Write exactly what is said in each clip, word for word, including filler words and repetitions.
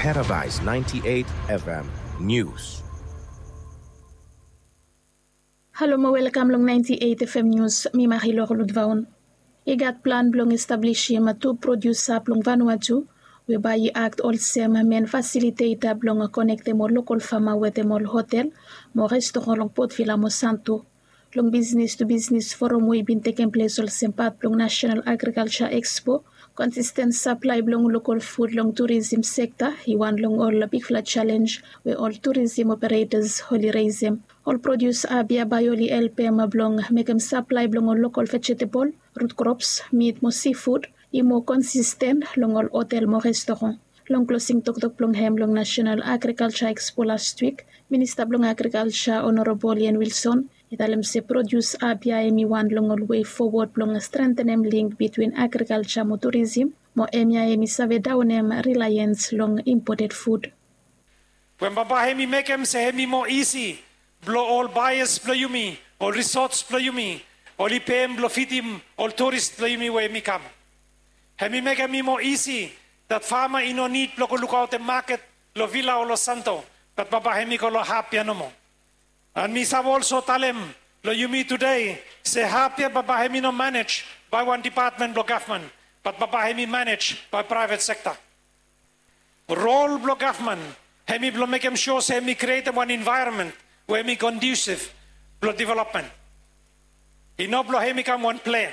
Paradise ninety-eight F M News. Halo mo welkam long ninety-eight F M News, mi Marilor Ludvaun. I gat plan blong establisim tu prodiusa blong Vanuatu we bae i akt olsem men fasiliteta blong konektem ol lokol fama wetem ol hotel mo restoran long Port Vila mo Santo. Long bisnis tu bisnis forum we i bin tekem ples olsem pat blong National Agriculture Expo, konsisten saplae blong lokol fud long turism sekta i wan long ol bigfala jalenj we ol turism operetas oli resem. Ol prodius abia bae oli helpem blong mekem saplae blong ol lokol vejetebol, rut krops, mit mo sifud i moa konsisten long ol hotel mo restoran. Long klosing toktok blong hem long National Agriculture Expo las wik, Minista blong Agrikalja Honorabol Ian Wilson i talem se prodius abia hem i wan long ol wei fowod blong strentenem link bitwin agrikalja mo turism, mo hemia hem i save daonem rilaiens long impoted fud. Wen bambae hem i mekem se hem i moa isi blong ol baeas blong yumi, ol risots blong yumi, oli pem blong fidim ol turis blong yumi we hem i kam. Hem i mekem i moa isi dat fama i no nid blong go lukaotem maket long Vila o long Santo, bat bambae hem i go long hap ya nomo. An mi save olso talem long yumi tude se hap ya bambae hem i no manej bae wan depatmen blong gavman, bat bambae hem i manej bae praevet sekta. Rol blong gavman hem i blong mekem sua se hem i krietem wan envaeronmen we hem i kondiusiv blong developmen. I no blong hem i kam wan plea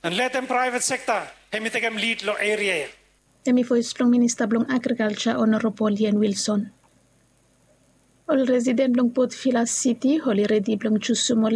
an letem praevet sekta hem i tekem lid long eria ya. Hem i voes blong Minista blong Agrikalja Honorabol Ian Wilson. Ol residen blong Port Vila Siti oli redi blong jusum ol